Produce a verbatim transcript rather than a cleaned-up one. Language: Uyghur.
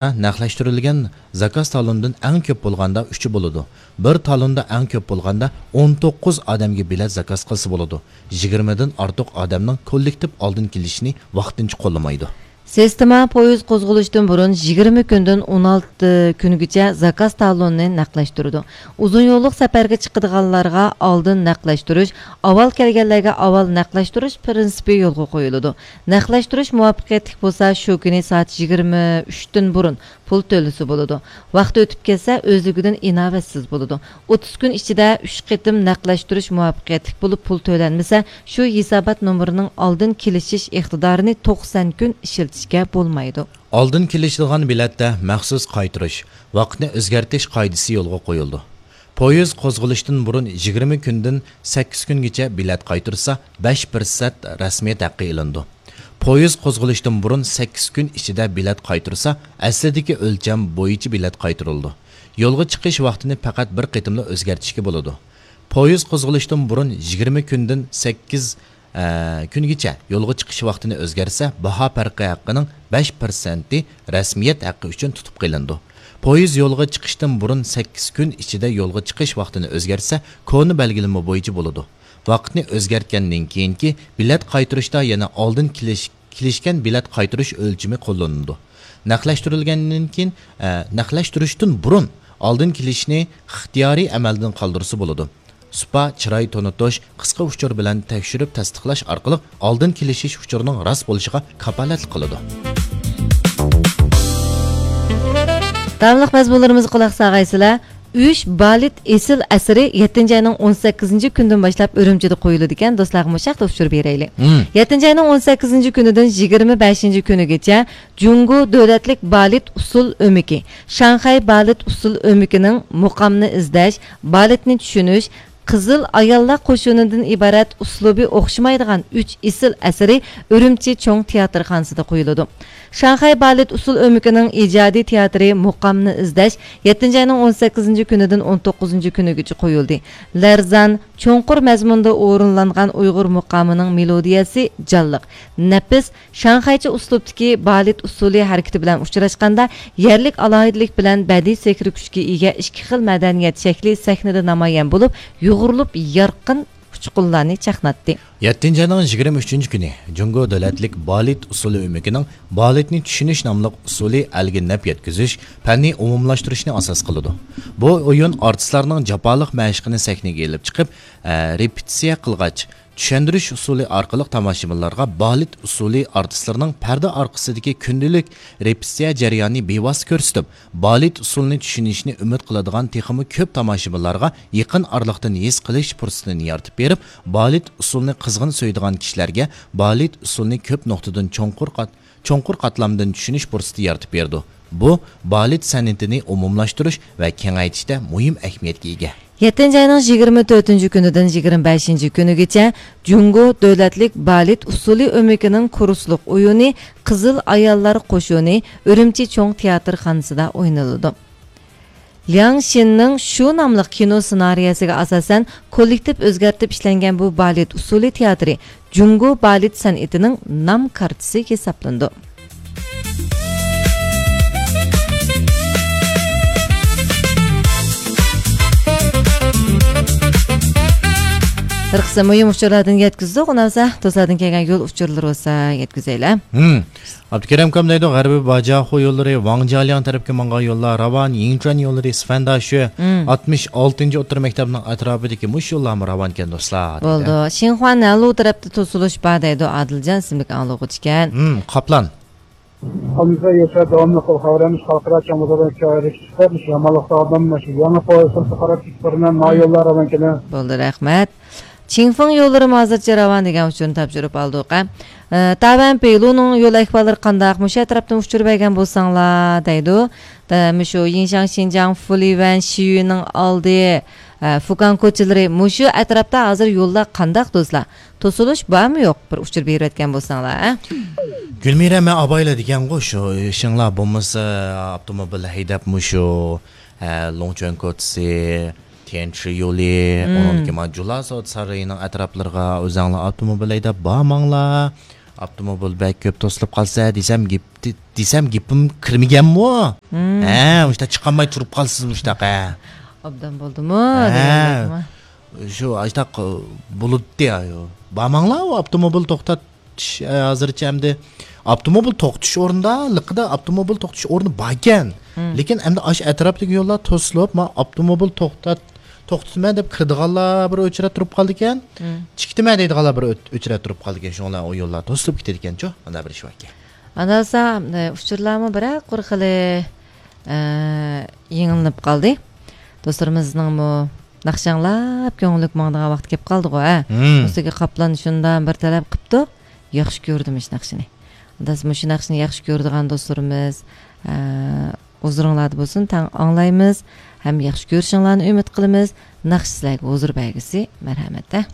نەقلەشتۈرۈلگەن زاكاز تالونىدىن ئەڭ كۆپ بولغاندا ئۈچى بولىدۇ. بىر تالوندا ئەڭ كۆپ بولغاندا ئون توققۇز ئادەمگە بېلەت زاكاز قىلسا بولىدۇ. يىگىرمىدىن ئارتۇق ئادەمنىڭ كوللېكتىپ ئالدىن كېلىشىنى ۋاقتىنچە قوللىمايدۇ. سىستېما پويىز قوزغىلىشتىن بۇرۇن يىگىرمە كۈندىن ئون ئالتە كۈنگىچە زاكاز تالونىنى نەقلەشتۈرىدۇ. ئۇزۇن يوللۇق سەپەرگە چىقىدىغانلارغا ئالدىن نەقلەشتۈرۈش، ئاۋۋال كەلگەنلەرگە ئاۋۋال نەقلەشتۈرۈش پىرىنسىپى يولغا قويۇلىدۇ. نەقلەشتۈرۈش مۇۋەپپەقىيەتلىك بولسا، شۇ كۈنى سائەت يىگىرمە ئۈچتىن بۇرۇن پۇل تۆلىسە بولىدۇ. ۋاقتى ئۆتۈپ كەتسە، ئۆزلۈكىدىن ئىناۋەتسىز بولىدۇ. ئوتتۇز كۈن ئىچىدە ئۈچ قېتىم نەقلەشتۈرۈش مۇۋەپپەقىيەتلىك بولۇپ، پۇل تۆلەنمىسە، شۇ ھېسابات نومۇرىنىڭ ئالدىن كېلىشىش ئىقتىدارىنى توقسان كۈن ئىشلىتىشكە بولمايدۇ. ئالدىن كېلىشىدىغان بېلەتتە مەخسۇس قايتۇرۇش، ۋاقىتنى ئۆزگەرتىش قائىدىسى يولغا قويۇلىدۇ. پويىز قوزغىلىشتىن بۇرۇن يىگىرمە كۈندىن سەككىز كۈنگىچە بېلەت قايتۇرسا، بەش پىرسەنت رەسمىيەت ھەققى ئېلىنىدۇ. پويىز قوزغىلىشتىن بۇرۇن سەككىز كۈن ئىچىدە بېلەت قايتۇرسا، ئەسلىدىكى ئۆلچەم بويىچە بېلەت قايتۇرۇلىدۇ. يولغا چىقىش ۋاقتىنى پەقەت بىر قېتىملا ئۆزگەرتىشكە بولىدۇ. پويىز قوزغىلىشتىن بۇرۇن يىگىرمە كۈندىن سەككىز، ئە، كۈنگىچە يولغا چىقىش ۋاقتىنى ئۆزگەرتسە، باھا پەرقى ھەققىنىڭ بەش پىرسەنتى رەسمىيەت ھەققى ئۈچۈن تۇتۇپ قېلىنىدۇ. پويىز يولغا چىقىشتىن بۇرۇن سەككىز كۈن ئىچىدە يولغا چىقىش ۋاقتىنى ئۆزگەرتسە، كونا بەلگىلىمە بويىچە بولىدۇ. ۋاقىتنى ئۆزگەرتكەندىن كېيىنكى بېلەت قايتۇرۇشتا يەنە ئالدىن كېلىش-، كېلىشكەن بېلەت قايتۇرۇش ئۆلچىمى قوللىنىلىدۇ. نەقلەشتۈرۈلگەندىن كېيىن، ئە، نەقلەشتۈرۈشتىن بۇرۇن ئالدىن كېلىشنى ئىختىيارىي ئەمەلدىن قالدۇرسا بولىدۇ. سۇپا، چىراي تونۇتۇش، قىسقا ئۇچۇر بىلەن تەكشۈرۈپ تەستىقلاش ئارقىلىق ئالدىن كېلىشىش ئۇچۇرىنىڭ راست بولۇشىغا كاپالەتلىك قىلىدۇ. داۋاملىق مەزمۇنلىرىمىزغا قۇلاق سالغايسىلەر. ئۈچ بالېت ئېسىل ئەسىرى يەتتىنچى ئاينىڭ ئون سەككىزىنچى كۈنىدىن باشلاپ ئۈرۈمچىدە قويۇلىدىكەن. دوستلارغا مۇشۇ ھەقتە ئۇچۇر بېرەيلى. مم. يەتتىنچى ئاينىڭ ئون سەككىزىنچى كۈنىدىن يىگىرمە بەشىنچى كۈنىگىچە جۇڭگو دۆلەتلىك بالېت ئۇسسۇل ئۆمىكى، شاڭخەي بالېت ئۇسسۇل ئۆمىكىنىڭ مۇقامنى ئىزدەش، بالېتنى چۈشىنىش، قىزىل ئاياللار قوشۇنىدىن ئىبارەت ئۇسلۇبى ئوخشىمايدىغان ئۈچ ئېسىل ئەسىرى ئۈرۈمچى چوڭ تىياتىرخانىسىدا قويۇلىدۇ. شاڭخەي بالېت ئۇسسۇل ئۆمىكىنىڭ ئىجادىي تىياتىرى مۇقامنى ئىزدەش يەتتىنچى ئاينىڭ ئون سەككىزىنچى كۈنىدىن ئون توققۇزىنچى كۈنىگىچە قويۇلدى. لەرزان، چوڭقۇر مەزمۇندا ئورۇنلانغان ئۇيغۇر مۇقامىنىڭ مېلودىيەسى جانلىق، نەپىس، شاڭخەيچە ئۇسلۇبتىكى بالېت ئۇسسۇلى ھەرىكىتى بىلەن ئۇچراشقاندا، يەرلىك ئالاھىدىلىك بىلەن بەدىئىي سېھرىي كۈچكە ئىگە ئىككى خىل مەدەنىيەت شەكلى سەھنىدە نامايان بولۇپ، يۇغۇرۇلۇپ يارقىن ئۇچقۇنلارنى چاقناتتى. يەتتىنچى ئاينىڭ يىگىرمە ئۈچىنچى كۈنى جۇڭگو دۆلەتلىك بالېت ئۇسسۇلى ئۆمىكىنىڭ بالېتنى چۈشىنىش ناملىق ئۇسسۇلى ئەلگە نەپ يەتكۈزۈش، پەننى ئومۇملاشتۇرۇشنى ئاساس قىلىدۇ. بۇ ئويۇن ئارتىسلارنىڭ جاپالىق مەشىقىنى سەھنىگە ئېلىپ چىقىپ، ئە، رېپېتىتسىيە قىلغاچ، چۈشەندۈرۈش ئۇسۇلى ئارقىلىق تاماشىبىنلارغا بالېت ئۇسسۇلى ئارتىسلىرىنىڭ پەردە ئارقىسىدىكى كۈندىلىك رېپېتىتسىيە جەريانىنى بىۋاسىتە كۆرسىتىپ، بالېت ئۇسسۇلىنى چۈشىنىشنى ئۈمىد قىلىدىغان تېخىمۇ كۆپ تاماشىبىنلارغا يېقىن ئارىلىقتىن ھېس قىلىش پۇرسىتىنى يارىتىپ بېرىپ، بالېت ئۇسسۇلىنى قىزغىن سۆيىدىغان كىشىلەرگە بالېت ئۇسسۇلىنى كۆپ نۇقتىدىن چوڭقۇر قات-، چوڭقۇر قاتلامدىن چۈشىنىش پۇرسىتى يارىتىپ بېرىدۇ. بۇ بالېت سەنئىتىنى ئومۇملاشتۇرۇش ۋە كېڭەيتىشتە مۇھىم ئەھمىيەتكە ئىگە. يەتتىنچى ئاينىڭ يىگىرمە تۆتىنچى كۈنىدىن يىگىرمە بەشىنچى كۈنىگىچە جۇڭگو دۆلەتلىك بالېت ئۇسسۇلى ئۆمىكىنىڭ كۇرسلۇق ئويۇنى قىزىل ئاياللار قوشۇنى ئۈرۈمچى چوڭ تىياتىرخانىسىدا ئوينىلىدۇ. لياڭ شىننىڭ شۇ ناملىق كىنو سېنارىيەسىگە ئاساسەن كوللېكتىپ ئۆزگەرتىپ ئىشلەنگەن بۇ بالېت ئۇسسۇلى تىياتىرى جۇڭگو بالېت سەنئىتىنىڭ نام كارتىسى ھېسابلىنىدۇ. بىر قىسىم مۇھىم ئۇچۇرلاردىن يەتكۈزدۇق. ئۇنداق بولسا، دوستلاردىن كەلگەن يول ئۇچۇرلىرى بولسا يەتكۈزەيلى. ھىم. ئابدۇكېرىم ئاكام دەيدۇ، غەربىي باجاخۇ يوللىرى، ۋاڭجيالياڭ تەرەپكە ماڭغان يوللار راۋان، يىڭچۈەن يوللىرى، سىفەنداشۈ، ھىم. ئاتمىش ئالتىنچى ئوتتۇرا مەكتەپنىڭ ئەتراپىدىكى مۇشۇ يوللارمۇ راۋانكەن، دوستلار، دېدى. بولدى. شىنخۇا نەنلۇ تەرەپتە توسۇلۇش بار دەيدۇ، ئادىلجان ئىسىملىك ئاڭلىغۇچىكەن. ھىم، قاپلان. خانىمىزغا ياشا داۋاملىق خەۋەرلەرنى خەلقئارا چاڭ بازاردا كۆرۈشۈپ، مۇشۇ يامانلىقتا ئادەم مۇشۇ يېڭى پويىزلارغا قاراپ كېتىپ بارىمەن، ما يوللار راۋانكەن. بولدى، رەھمەت. چىڭفېڭ يوللىرىمۇ ھازىرچە راۋان دېگەن ئۇچۇرنى تاپشۇرۇپ ئالدۇق، ھە. ئە، تاۋەن پېيلۇنىڭ يول ئەھۋاللىرى قانداق؟ مۇشۇ ئەتراپتىن ئۇچۇر بەرگەن بولساڭلار، دەيدۇ. دە، مۇشۇ يىنشاڭ شىنجاڭ فۇلىۋەن شىيۈنىڭ ئالدى، ئە، فۇكان كوچىلىرى، مۇشۇ ئەتراپتا ھازىر يوللار قانداق، دوستلار؟ توسۇلۇش بارمۇ يوق؟ بىر ئۇچۇر بېرىۋەتكەن بولساڭلار، ھە؟ گۈلمىرە، مەن ئابايلا دېگەنغۇ، شۇ ئىشىڭلار بولمىسا، ئاپتوموبىل ھەيدەپ مۇشۇ، ھە، لوڭچۈەن كوچىسى، تيەنشى يولى، مم. ئۇنىڭدىن كېيىن مانا جۇلا سودا سارىيىنىڭ ئەتراپلىرىغا ئۆزەڭلار ئاپتوموبىل ھەيدەپ بارماڭلار. ئاپتوموبىل بەك كۆپ توسۇلۇپ قالسا دېسەم، گېپ، دېسەم گېپىم كىرمىگەنمۇ؟ ھە، مۇشتا چىقالماي تۇرۇپ قالسىز مۇشتاق، ھە. ئوبدان بولدىمۇ؟ ھە. دېگەندەكمۇ؟ شۇ ئاشتاق بولۇدى. بارماڭلار، ئۇ ئاپتوموبىل توختاتىش، ھازىرچە ئەمدى ئاپتوموبىل توختىتىش ئورنىدا، لىقىدا ئاپتوموبىل توختىتىش ئورنى باركەن. لېكىن ئەمدى ئاش ئەتراپتىكى يوللار توسۇلۇپ، ما ئاپتوموبىل توختات، توختىتىمەن دەپ كىرىدىغانلار بىر ئۆچرەت تۇرۇپ قالىدىكەن. چىقىتىمەن دەيدىغانلار بىر ئۆت-، ئۆچرەت تۇرۇپ قالىدىكەن. شۇڭلار ئۇ يوللار توسۇلۇپ كېتىدىكەنچۇ. ئانداق بىر ئىش باركەن. ئاندىن بولسا، ئۇچۇرلارمۇ بىرەر قۇر خىلى، ئە، يېڭىلىنىپ قالدى. دوستلىرىمىزنىڭمۇ ناخشا ئاڭلاپ كۆڭلۈك ماڭىدىغان ۋاقىت كېلىپ قالدىغۇ، ھە؟ مۇسىگە قاپلان شۇنداق بىر تەلەپ قىپتۇ. ياخشى كۆردۈم مۇشۇ ناخشىنى. ئانداس مۇشۇ ناخشىنى ياخشى كۆرىدىغان دوستلىرىمىز، ئە، ھۇزۇرۇڭلاردا بولسۇن، تەڭ ئاڭلايمىز ھەم ياخشى كۆرۈشۈڭلارنى ئۈمىد قىلىمىز. ناخشا سىلەرگە ھۇزۇر بەرگۈسى، مەرھەمەت، ھە؟